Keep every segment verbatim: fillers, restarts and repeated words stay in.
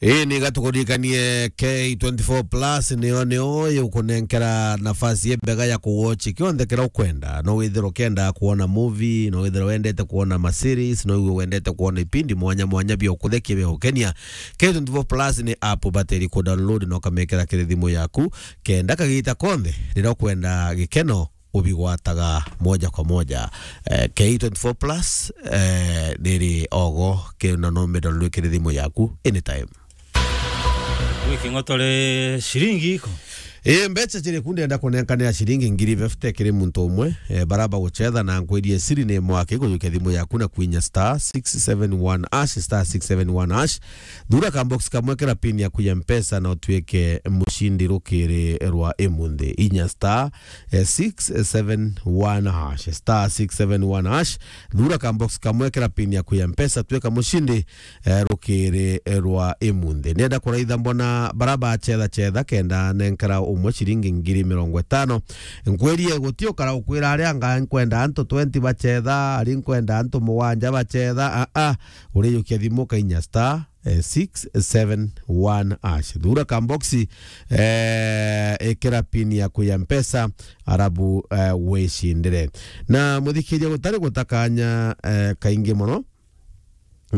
Ii, ni gatukuririkanie K twenty-four plus niyo, niyo igukunenkera nafasi imbega ya kuwatch kionthe kiria ukwenda. No withirwe ukienda kuona movie, no withirwe wendete kuona ma series, no withirwe wendete kuona ipindi mwanya mwanya bia ukuthekia bia gukenia. K twenty-four plus ni app ubatiri ku download na ukamekera kiri thimu yaku, kenda kagita konthe riria ukwenda gikeno ubigwataga moja kwa moja. Eh, K twenty-four plus, eh, riri ogo, kiri na no middle rwikiri thimu yaku anytime. Wiki ngotore ciringi iko? Ii, mbeca ciri ku ndenda kunenkanira ciringi ngiri fifty kiri muntu umwe, eh, bara bagucetha na nkwirie siri ni mwaki kujukia thimu yaku na kwinya star six seven one hash, star six seven one hash. Thura ka box kamwe kira pin yaku ya Mpesa na utuike mucindi rukiri rwa imunthi. Inya star eh, six seven one hash, star six seven one hash. Thura ka box kamwe kira pin yaku ya Mpesa, tuika mucindi, eh, rukiri rwa imunthi. Nenda kuraitha mbona bara bacetha cetha kenda nenkera umwe ciringi ngiri mirongo itano. Nkwirie guti ukara ukwira aria anga nkwenda antu twenty bacetha, ari nkwenda antu mugwanja bacetha. A, a, urijukia thimu kainya star eh, six seven one hash. Thura ka box, eh, ikira pin yaku ya Mpesa, arabu, eh, wicindire. Na muthikiria gutari gutakanya, eh, kaingi mono,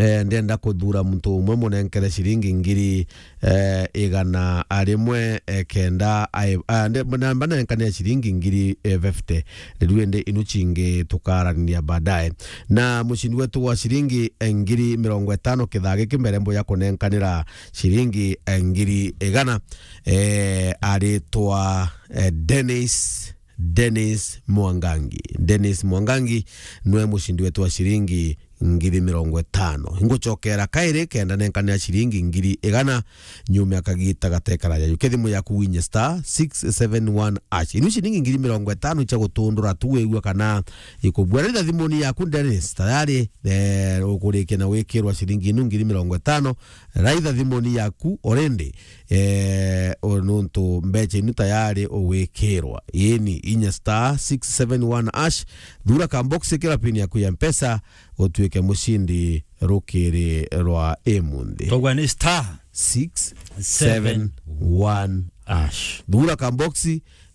eh, ndenda kuthura muntu umwe munenkere ciringi ngiri, eh, igana rimwe, eh, kenda, ai-, ah, nde-, na mbanenkanire ciringi ngiri, eh, fifty. Riu indi inu cingi tukaraniria baadaye. Na mucindi wetu wa ciringi, eh, ngiri mirongo itano kithaa giki mbere mbuya kunenkanira ciringi, eh, ngiri igana, eh, aritwa, eh, Dennis, Dennis Mwangangi. Dennis Mwangangi nwe mucindi wetu wa ciringi ngiri mirongo itano. Ngucokera kairi kenda nenkanira ciringi ngiri igana nyuma ya kagita gatekara jaju. Kethimu yaku winye star six seven one hash. Inu ciringi ngiri mirongo itano icha gutundura tu wigua kana ikubua. Raitha thimuni yaku Dennis, tayari, eh, ukurikia na wikirwa ciringi inu ngiri mirongo itano. Raitha thimuni yaku already, eh, o nuntu mbecha inu tayari ugwikirwa. Yeni, inya star six seven one hash, thura ka box kira pin yaku ya Mpesa, utuike mucindi rukiri rwa imunthi. Togwa ni star six seven one hash. Thura ka box,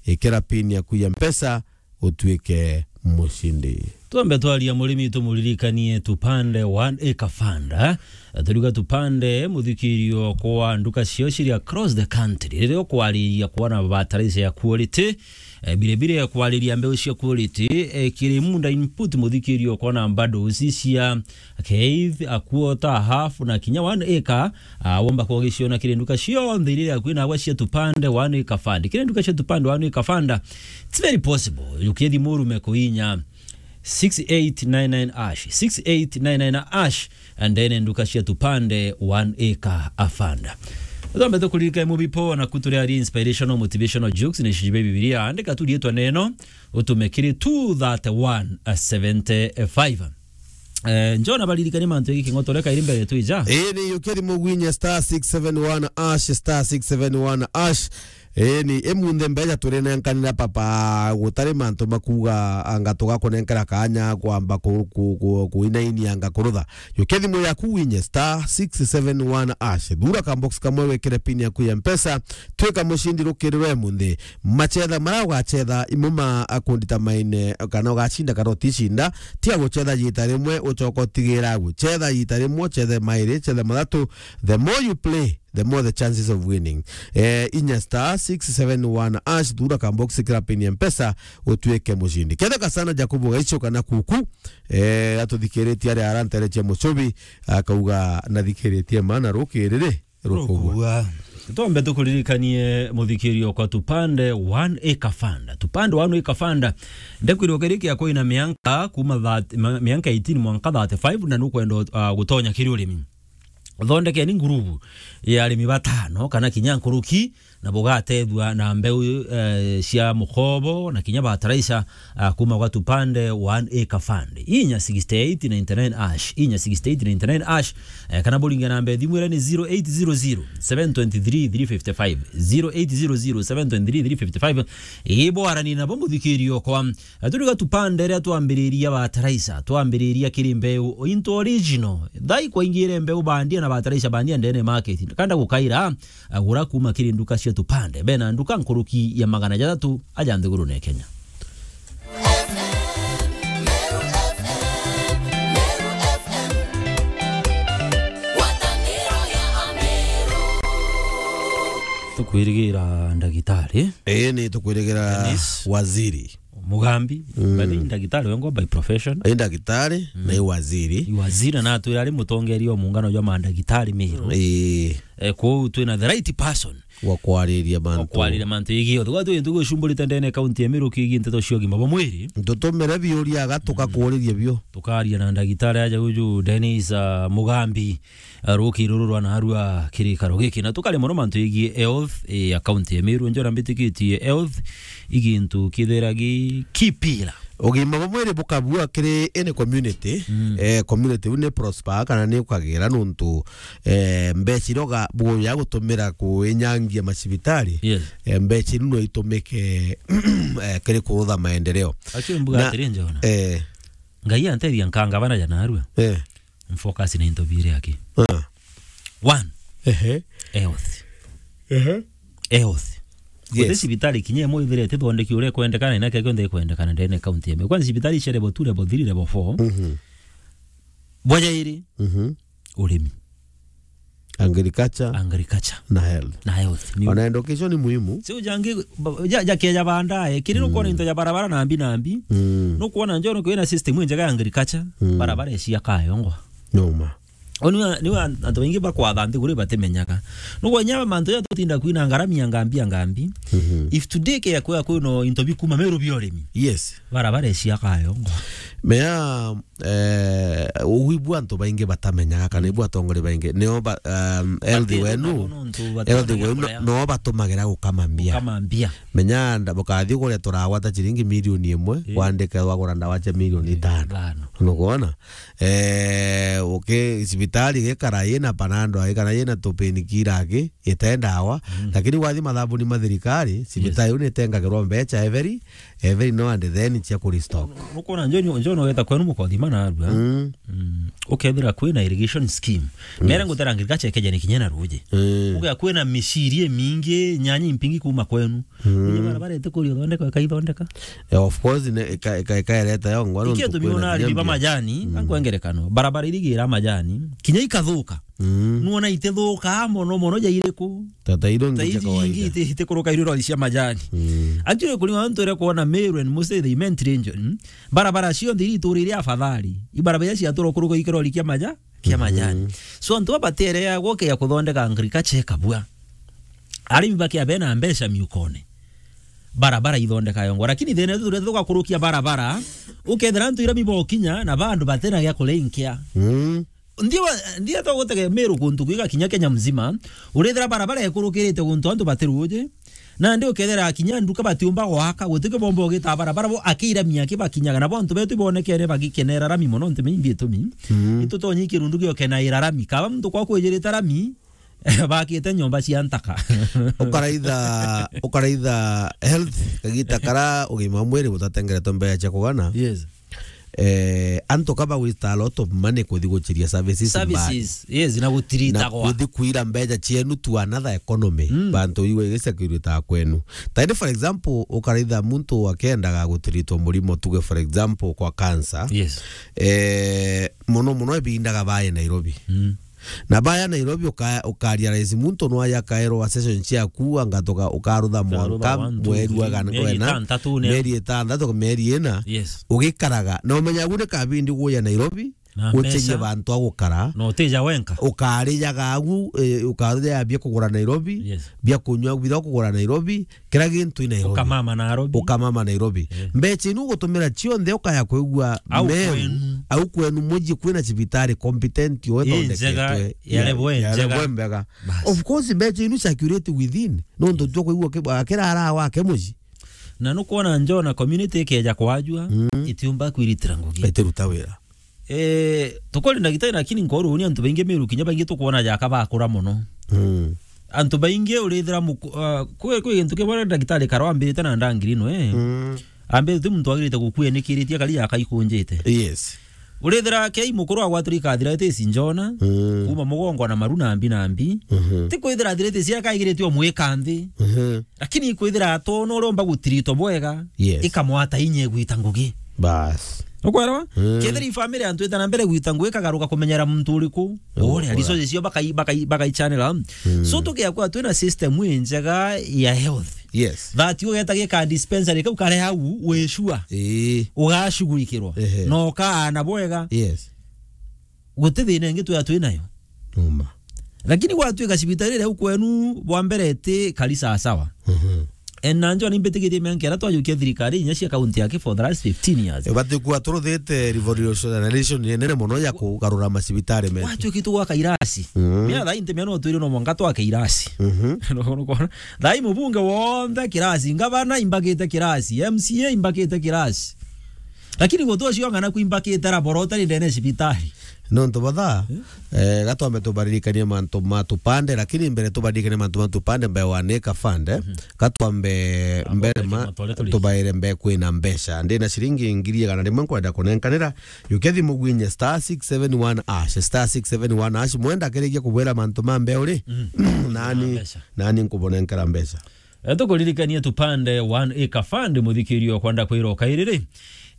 ikira pin yaku ya Mpesa, utuike mucindi. Twambe twaria murimi tumuririkanie Tupande One Acre Fund, eh? Turiuga Tupande, muthikirio kwa nduka cio ciri across the country. Riria ukwariria kuona bataraitha ya quality, eh, biribiri ya kwariria mbeu cia quality, eh, kiri Munda Input, muthikirio kuona bundles cia K eight, a quarter, a half, na kinya one acre, ah, womba kugiciona kiri nduka cionthe iria kwina agwa cia Tupande One Acre Fund. Kiri nduka cia Tupande One Acre Fund, it's very possible. Jukia thimu urume kuinya six eight nine nine hash, six eight nine nine hash, and then nduka cia Tupande One Acre Fund. Thombe tukuririka mubipo na kuturi ari inspirational motivational jokes ni shijibe Biblia. Andika tu rietwa neno, utume kiri two thirty-one seventy-five. Eh, njona baririkanie mantu egi king'otore kairi mbere twija. Ii, ni yukia thimu gwinye star six seven one hash, star six seven one hash. Ii, ni imunthe mbeca turinenkanira papa, gutari mantu makuga anga tugakunenkera kanya kwamba ku-, ku-, ku-, kuinainia anga kurutha. Yukia thimu yaku winye star six seven one hash. Thura ka box kamwe wikire pin yaku ya Mpesa, twika mucindi rukirirwe munthi. Macetha maria ugacetha imo ma akundita maine, kana ugacinda kana uticinda, tiga gucetha jita rimwe ucoka utigira agu. Cetha jita rimwe, cethe mairi, cethe mathatu. The more you play, the more the chances of winning. Eh, inya star six seven one hash, thura ka box kira pin ya Mpesa, utuike mucindi. Ketheka sana Jacob Gaicho kana Kuku, eh, atuthikiritie ari arantereche mucubi, akauga nathikiritie mana rukiriri. Rukubua. Rukubua. Twambe tukuririkanie muthikirio kwa Tupande One Acre Fund. Tupande One Acre Fund. Ndekwirwo kiri kia kwina mianka kuma thirty, ma-, mianka eighteen mwanka thirty-five na nukwenda, uh, gutonya kiri urimi. Thondekeni ngurubu ya arimi batano kana kinya nkuruki, na bugatethua na mbeu, eh, cia mukobo na kinya bataraica, ah, kuma gwa Tupande One Acre Fund. Inya sixty eight ninety nine hash, inya sixty eight ninety nine hash, eh, kana buringe namba ya thimu iria ni zero eight zero zero, seven twenty three, three fifty five, zero eight zero zero, seven twenty three, three fifty five. Ii bwarani nabo muthikiri okwa. Eh, turiga Tupande iria twambiriria bataraica, twambiriria kiri mbeu into original. Thai kwaingire mbeu bandia na bataraica bandia ndene market. Kanda gukaira, agura kuma kiri nduka cia Tupande. Bena nduka nkuruki ya magana jathatu aja nthigurune ya Kenya. Tukwirigira ndagitari. Ii, ni tukwirigira Dennis. Waziri. Mugambi, mm, but ni ndagitari wengwa by profession. Ni ndagitari, mm, na ni waziri. Ni waziri na atwira ari mutongeria wa muungano jwa mandagitari Meru. Ii. Eh, kwou twina the right person wa kwariria mantu. Wa kwariria mantu yigii othe. Gwatu gintu gucumburite ndene kaunti ya Meru kigii nteto cia ugima bwa mwiri. Ntutumire biuria aga tukakuuriria bio. Tukaria na ndagitari aja uju Dennis, ah, Mugambi. Ah, ruki ruru rwa narua kirikaro giki, na tukaria mono mantu yigii health, eh, ya kaunti ya Meru. Njora mbitikitie health i gintu kithira gi key pillar. Ugima bwa mwiri bukabua kiri any community, mm, eh, community iu ni prosper kana ni ukagira nuntu, eh, mbeca iria uga-, buya gutumira kuinyangia macibitari, yes, eh, mbeca iu no itumike, eh, kiri kurutha maendeleo. Actually, mbuga Na, atiri, Njona. Eh. Ngai antethia nkanga bana ja narua. Eh. Mfocus na into biiri aki. Ah. One. Ehe. Health. Ehe. Health. Yes. Guti cibitari kinya imwe ithirite ithondeki uria ikwendekana, na kio kionthe ikwendekana ndene kaunti ya Meru. Kwanza cibitari cia level two, level three, level four. Mhm. Bwa jairi. Mhm. Urimi. Agriculture. Agriculture. Na health. Na health. Ni Ona education ni muhimu. Siu jangi, ba-, ja, ja keja bandae, kiri nukwona into ja barabara na mbi na mbi. Mm. Nukwona njo nukwina system injega ya agriculture, mm, barabara cia kayongwa. Noma. Oni wa, ni wa, antu baingi bakwatha nthiguru batimenyaga. Nukwenya mantu ya tutinda kwina ngarami ya ngambi ya ngambi. Mhm. If today ke ya kwa kwino into bikuma Meru bia urimi. Yes. Barabara cia kayongwa. Mea Eh, ugu ibu antu baingi batamenyaga kana ibu atongoria baingi nio ba-, um, health wenu, health wenu no, no batumagira gukama mbia. Gukama mbia. Menya nda-, bukathi kuria turagwata ciringi milioni imwe, eh, wandike wagura ndawa cia milioni itano. Itano. Nukwona? Eh, uki-, cibitari gikara yina panado ai kana yina tupainkiller aki, ite ndawa, mm, lakini wathi mathabuni ma thirikari, cibitari, yes, iu nitengagirwa mbeca every, every now and then cia ku restock. Nukwona njo, njo, njo no weta kwenu mukothima narua. Mm. Mm. Ukethira kwina irrigation scheme. Yes. Mere ngutera agriculture keja ni kinya na ruji. Mm. Uga kwina miciri imingi, nyanya impingi kuma kwenu. Mm. Uji barabara ite kuri uthondeka, ikaithondeka. Eh, of course, ne, ika-, ika-, ikaereta yo ngwa. Ikia nuntu tumiona kwina arimi ba kinya majani, mm, ankwengerekano. Barabara irigira majani, kinya ikathuka. Mm. Nuona itithukaa mono mono ja iriku? Ta, ta iria ingi cia kawaida. Iti-, itikuruka iria irori cia majani. Mm. Actually, kuri antu iria kuona Meru and mostly the Imenti region, barabara cionthe iria ituri iria afadhali. Ibarabara iria ciatura kuruka ikirori kia maja-, kia, mhm, majani. So, antu aba batereagwo kia kuthondeka agriculture ikabua. Arimi bakia bena mbeca miukone. Barabara ithondeka yongwa. Lakini thina yetu turia tugakurukia barabara, ukethira antu irami bokinya na bandu batena gia kurenkia. Mm. Ndio, ndio to gutege Meru kuntu kwiga kinya Kenya mzima. Urethira barabara ikurukirite guntu antu batiruji. Nandi ukethira kinya nduka batiumba gwaka, gutike bomba ugita barabara bo akiramia aki bakinyaga. Na bo antu betu ibonekere bagikenera rami mono ntu mingi itumi. Mm. Itutonyi kirundu giokenaira rami. Kaba muntu kwa kwijirite rami, bakite nyomba cia ntaka. Ukaraitha, ukaraitha health, kagita kara ugima wa mwiri butatengeretwe mbere cia kugana. Yes. Eh, antu ka ba waste a lot of money kuthi guchiria services mbali. Services, yes, na gutirita na gwa. Kuthi kuira mbeca cienu to another economy. Mm. Bantu iwe igicakirita kwenu. Tani, for example, ukaraitha muntu akendaga gutiritwa murimo, tuge, for example, kwa cancer. Yes. Eh, mono mono ebindaga bae Nairobi. Mm. Na baya Nairobi uka-, ukaria rais muntu no aya akaerwa session ciaku, anga toka ukarutha mwanka mweri wa gana, mieri itantatu, mieri itantatu, mieri ina. Yes. Ugikaraga. Na umenya agu ni kabindi guya Nairobi, Na ucenjie mbeca. Bantu a gukara. Na utija wenka. Ukarijaga agu, eh, ukarija bia kugura Nairobi, yes, bia kunywa bithira kugura Nairobi, kira gintu i Nairobi. Ukamama Nairobi. Ukamama Nairobi. Eh. Mbeca inu ugutumira cionthe ukaya kwigua au meru, kwenu. Au kwenu muji kwina cibitari competent, yo ithondeketwe, njega, ya, ya level ya njega. Level mbega. Bas. Of course, mbeca inu circulate within. Nontu twa kwigua ki-, akira ara wake muji. Na nukwona njona community ikeja kwajua, mm, itiumba kwiritira ngugi. Itiruta wira. Eh, tukori ndagitari, lakini nkoruuni antu baingi Meru kinya baingi tukwona jaka bakura mono. Mm. Antu baingi urithira muku-, ah, kwi, kwi gintu kimwe ndagitari Karo ambirite na ndangiri no, eh. Mm. Ambirite ti muntu agirite gukua enikiritie kari jaka ikunjite. Yes. Urithira kei mukuru agwatire ikathira iti ici njona, mm, kuma mugongo na maru na mbi na mbi. Mhm. Ti kwithira athirite cia kaigirite omwika nthi. Mhm. Lakini ikwithira atona uria umba gutiritwa bwega, yes, ikamwata inya igwita ngugi. Bas. Ukwelewa? Mm. Kethira i family antu ita na mbere gwita ngugi, ikagaruka kumenyera muntu uriku. Oh, uria, oh, resources cio bakai-, bakai-, bakaichanela. Mm. So tukia kwa twina system ii njega ya health. Yes. That ugeta gika dispensary kau kare hau, wi sure. Ii. Ugashughulikirwa. Ehe. Na ukaana bwega. Yes. Guti thina ingi twea twi nayo. Numa. Lakini gwatuika cibitari iria u kwenu bwa mbere iti kari sawa sawa. Mhm. And na njo nimbitikitie mianka iria twajukia thirikari inya cia kaunti yake for the last fifteen years. Ibati kuwa turuthite revolution, revolution inene mono ya kugarura macibitari metu. Gwatuiki tugwaka irasi. Mhm. Mia thaa inti mia no twire no mwanka twake irasi. Mhm. Nukwona? Thaa ii mubunge wonthe kirasi, ngavana imbakite kirasi, M C A imbakite kirasi. Lakini guti ucio ng'ana kwimbakite raboro utari ndene cibitari. Nontu batha, eh, gatwambe tubaririkanie mantu ma tupande, lakini mbere tubaririkanie mantu ma tupande, mbere wa Neka Fund, eh, mhm, gatwambe mbere ma, tubaire mbere kwina mbeca. Ndina ciringi ngiri igana rimwe nkwenda kunenkanira. Yukia thimu gwinye star six seven one hash, star six seven one hash, mwenda akirikia kubwira mantu ma mbere uri, mhm, nani, nani nkubunenkera mbeca. Eh, tukuririkanie tupande One Acre Fund, muthikirio kwenda kwira ukairiri.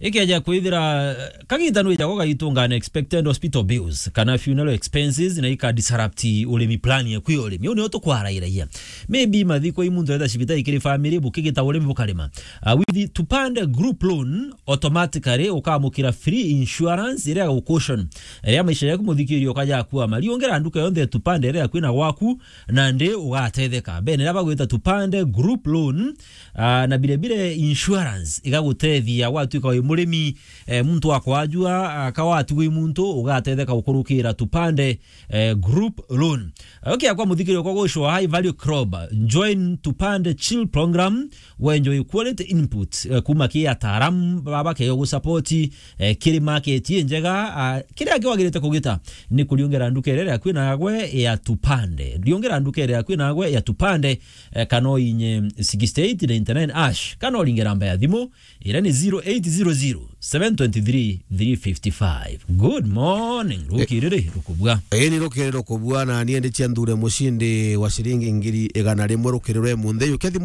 Ikeja kwithira, eh, kagita nwija gugaitunga unexpected hospital bills, kana funeral expenses, na ika disrupt urimi plan yaku ya urimi. Uu nio tukwarairagia. Maybe mathiko i muntu enda cibitari kiri family, bukigita urimi bukarima. Ah, with tupande group loan, automatically ukamukira free insurance iria ya gucushion iria maisha yaku muthikirio ukaja kuama. Riungira nduka yonthe ya tupande iria yakwina gwaku, nandi ugatetheka. Bene iria bagwita tupande group loan, ah, na bire bire insurance igagutethia gwatuika wi murimi, eh, muntu wa kwajua, ah, ka watigwi muntu, ugatetheka gukurukira tupande, eh, group loan. Ukia kwa muthikirio kwa gucwa high value crop, join tupande chill program, we enjoy quality input, eh, kuma ki ataaramu baba keo gusupport, eh, kiri market i njega, ah, kiria kiwagirite kugita ni kuriungera nduka iria yaku nagwe ya tupande. Riungera nduka iria yaku nagwe ya tupande, eh, kana oinye sixty eight ninety nine hash, kana uringe namba ya thimu, iria ni zero eight zero zero, seven twenty three, three fifty five. Good morning, rukiriri rukubua. Ii ni rukiriri rukubua, na nie ndi cia nthure mucindi wa ciringi ngiri igana rimwe rukiriri rwe munthi. Yukia thimu